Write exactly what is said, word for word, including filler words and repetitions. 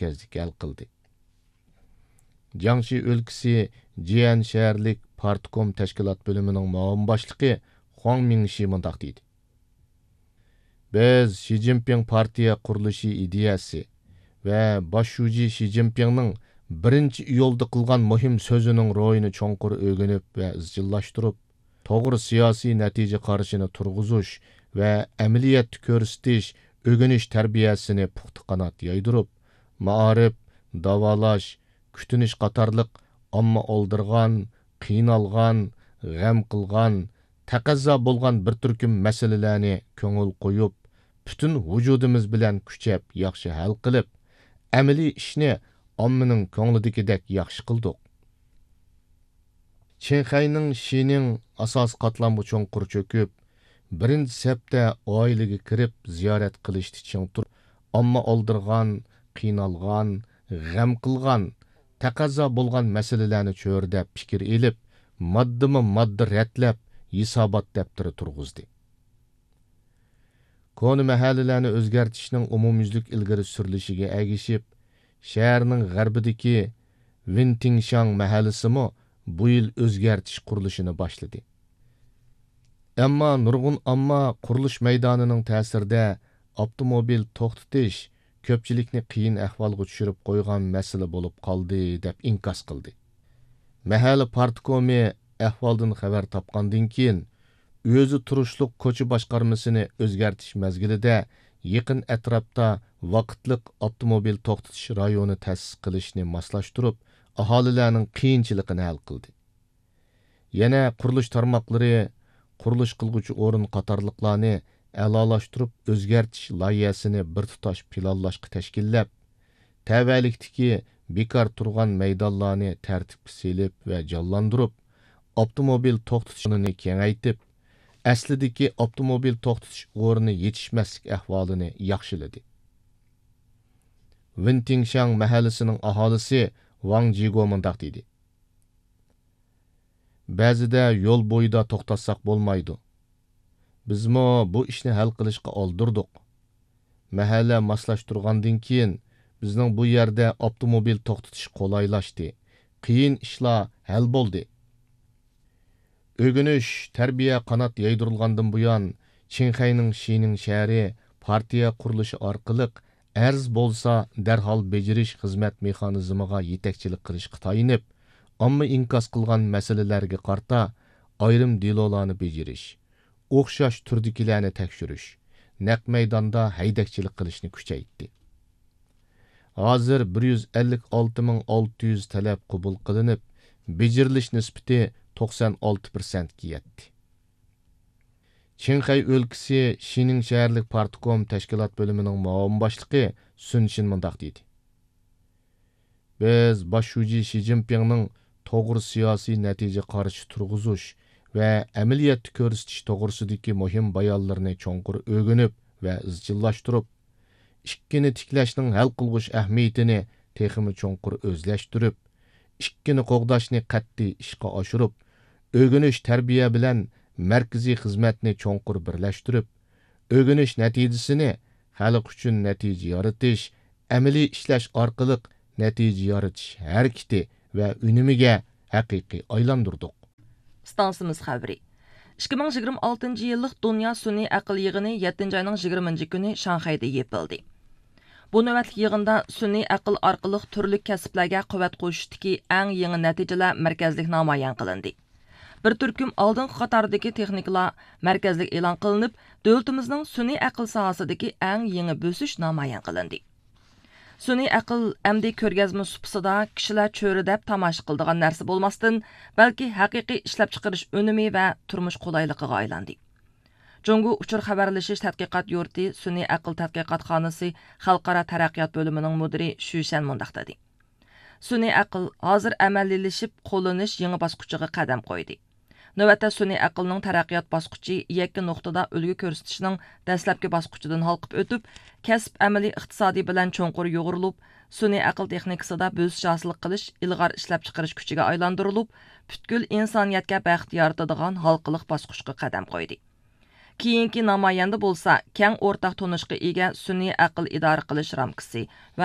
مەركەزلىك ھەل قىلدى. جياڭشى ئۆلكىسى جيەن شەھەرلىك پارتكوم تەشكىلات بۆلۈمىنىڭ مۇئاۋىن باشلىقى خۇاڭ مىڭشى مۇنداق دېدى: بىز شى جىنپىڭ پارتىيە قۇرۇلۇشى ئىدىيەسى ۋە باش شۇجى شى جىنپىڭنىڭ بىرىنچى ئىيۇلدا قىلغان مۇھىم سۆزىنىڭ روھىنى چوڭقۇر ئۆگىنىپ ۋە ئىزچىللاشتۇرۇپ، توغرا سىياسىي نەتىجە قارىشىنى تۇرغۇزۇش ۋە ئەمەلىيەتتە كۆرسىتىش، ئۆگىنىش تەربىيەسىنى پۇختا قانات يايدۇرۇپ، مائارىپ، داۋالاش، كۈتۈنۈش قاتارلىق ئامما ئالدىرىغان، قىينالغان، غەم قىلغان، تەقەززا بولغان بىر تۈركۈم مەسىلىلەرنى كۆڭۈل قويۇپ، پۈتۈن ۋۇجۇدىمىز بىلەن كۈچەپ ياخشى ھەل قىلىپ، ئەمەلىي ئىشنى ئاممىنىڭ كۆڭلىدىكىدەك ياخشى قىلدۇق. چىڭخەينىڭ شىنىڭ ئاساسىي قاتلامغا چوڭقۇر چۆكۈپ، بىرىنچى سەپتە ئائىلىگە كىرىپ زىيارەت قىلىشتا چىڭ تۇرۇپ، ئامما ئالدىرىغان، قىينالغان، غەم قىلغان، تەقەززا بولغان مەسىلىلەرنى چۆرىدەپ پىكىر ئېلىپ، ماددىمۇ ماددا رەتلەپ، ھېسابات دەپتىرى تۇرغۇزدى. كونا مەھەللىلەرنى ئۆزگەرتىشنىڭ ئومۇميۈزلۈك ئىلگىرى سۈرۈلۈشىگە ئەگىشىپ، شەھەرنىڭ غەربىدىكى ۋىنتىڭشاڭ مەھەللىسىمۇ بۇ يىل ئۆزگەرتىش قۇرۇلۇشىنى باشلىدى. ئەمما نۇرغۇن ئامما قۇرۇلۇش مەيدانىنىڭ تەسىرىدە ئاپتوموبىل توختىتىش كۆپچىلىكنى قىيىن ئەھۋالغا چۈشۈرۈپ قويغان مەسىلە بولۇپ قالدى، دەپ ئىنكاس قىلدى. مەھەللە پارتكومى ئەھۋالدىن خەۋەر تاپقاندىن كېيىن، ئۆزى تۇرۇشلۇق كوچا باشقارمىسىنى ئۆزگەرتىش مەزگىلىدە يېقىن ئەتراپتا ۋاقىتلىق ئاپتوموبىل توختىتىش رايونى تەسىس قىلىشنى ماسلاشتۇرۇپ، ئاھالىلەرنىڭ قىيىنچىلىقىنى ھەل قىلدى. يەنە قۇرۇلۇش تارماقلىرى، قۇرۇلۇش قىلغۇچى ئورۇن قاتارلىقلارنى ئەلالاشتۇرۇپ ئۆزگەرتىش لايىھەسىنى بىر تۇتاش پىلانلاشقا تەشكىللەپ، تەۋەلىكتىكى بىكار تۇرغان مەيدانلارنى تەرتىپكە سېلىپ ۋە جانلاندۇرۇپ، ئاپتوموبىل توختىتىش ئورنىنى كېڭەيتىپ، ئەسلىدىكى ئاپتوموبىل توختىتىش ئورنى يېتىشمەسلىك ئەھۋالىنى ياخشىلىدى. ۋېنتىڭشاڭ مەھەللىسىنىڭ ئاھالىسى ۋاڭ جىگو مۇنداق دېدى: بەزىدە يول بويىدا توختاتساق بولمايدۇ. بىزمۇ بۇ ئىشنى ھەل قىلىشقا ئالدۇردۇق. مەھەللە ماسلاشتۇرغاندىن كېيىن، بىزنىڭ بۇ يەردە ئاپتوموبىل توختىتىش قولايلاشتى. قىيىن ئىشلار ھەل بولدى. ئۆگىنىش، تەربىيە قانات يايدۇرۇلغاندىن بۇيان، چىڭخەينىڭ شىنىڭ شەھىرى پارتىيە قۇرۇلۇشى ئارقىلىق ئەرز بولسا دەرھال بېجىرىش خىزمەت مېخانىزمىغا يېتەكچىلىك قىلىشقا تايىنىپ، ئامما ئىنكاس قىلغان مەسىلىلەرگە قارىتا ئايرىم دېلولارنى بېجىرىش، ئوخشاش تۈردىكىلەرنى تەكشۈرۈش، نەق مەيداندا ھەيدەكچىلىك قىلىشنى كۈچەيتتى. ھازىر بىر يۈز ئەللىك ئالتە مىڭ ئالتە يۈز تەلەپ قوبۇل قىلىنىپ، بېجىرىلىش نىسبىتى توقسان ئالتە پىرسەنتكە يەتتى. چىڭخەي ئۆلكىسى شىنىڭ شەھەرلىك پارتكوم تەشكىلات بۆلۈمىنىڭ مۇئاۋىن باشلىقى سۈن شىن مۇنداق دېدى: بىز باش شۇجى شى جىنپىڭنىڭ توغرا سىياسىي نەتىجە قارىشى تۇرغۇزۇش ۋە ئەمەلىيەتتە كۆرسىتىش توغرىسىدىكى مۇھىم بايانلىرىنى چوڭقۇر ئۆگىنىپ ۋە ئىزچىللاشتۇرۇپ، ئىككىنى تىكلەشنىڭ ھەل قىلغۇچ ئەھمىيىتىنى تېخىمۇ چوڭقۇر ئۆزلەشتۈرۈپ، ئىككىنى قوغداشنى قەتئىي ئىشقا ئاشۇرۇپ، ئۆگىنىش، تەربىيە بىلەن مەركىزىي خىزمەتنى چوڭقۇر بىرلەشتۈرۈپ، ئۆگىنىش نەتىجىسىنى خەلق ئۈچۈن نەتىجە يارىتىش، ئەمەلىي ئىشلەش ئارقىلىق نەتىجە يارىتىش ھەرىكىتى ۋە ئۈنۈمىگە ھەقىقىي ئايلاندۇردۇق. ئىستانسىمىز خەۋىرى. ئىككى مىڭ يىگىرمە ئالتىنچى يىللىق دۇنيا سۈنئىي ئەقىل يىغىنى يەتتىنچى ئاينىڭ يىگىرمىنچى كۈنى شاڭخەيدە يېپىلدى. بۇ نۆۋەتلىك يىغىندا سۈنئىي ئەقىل ئارقىلىق تۈرلۈك كەسىپلەرگە قۇۋۋەت قوشۇشتىكى ئەڭ يېڭى نەتىجىلەر مەركەزلىك نامايان قىلىندى. بىر تۈركۈم ئالدىنقى قاتاردىكى تېخنىكىلار مەركەزلىك ئېلان قىلىنىپ، دۆلىتىمىزنىڭ سۈنئىي ئەقىل ساھەسىدىكى ئەڭ يېڭى بۆسۈش نامايان قىلىندى. سۈنئىي ئەقىل ئەمدى كۆرگەزمە سۇپىسىدا كىشىلەر چۆرىدەپ تاماشا قىلىدىغان نەرسە بولماستىن، بەلكى ھەقىقىي ئىشلەپچىقىرىش ئۈنۈمى ۋە تۇرمۇش قولايلىقىغا ئايلاندى. جۇڭگو ئۇچۇر خەۋەرلىشىش تەتقىقات يۇرتى سۈنئىي ئەقىل تەتقىقاتخانىسى خەلقئارا تەرەققىيات بۆلۈمىنىڭ مۇدىرى شۈ شەن مۇنداق دېدى: سۈنئىي ئەقىل ھازىر ئەمەلىيلىشىپ، قوللىنىش يېڭى باسقۇچىغا قەدەم قويدى. نۆۋەتتە سۈنئىي ئەقىلنىڭ تەرەققىيات باسقۇچى يەككە نۇقتىدا ئۈلگە كۆرسىتىشنىڭ دەسلەپكى باسقۇچىدىن ھالقىپ ئۆتۈپ، كەسىپ ئەمەلىي ئىقتىسادى بىلەن چوڭقۇر يۇغۇرۇلۇپ، سۈنئىي ئەقىل تېخنىكىسىدا بۆسۈش ھاسىل قىلىش ئىلغار ئىشلەپچىقىرىش كۈچىگە ئايلاندۇرۇلۇپ، پۈتكۈل ئىنسانىيەتكە بەخت يارىتىدىغان ھالقىلىق باسقۇچقا قەدەم قويدى. كېيىنكى نامايەندە بولسا كەڭ ئورتاق تونۇشقا ئىگە سۈنئىي ئەقىل ئىدارە قىلىش رامكىسى ۋە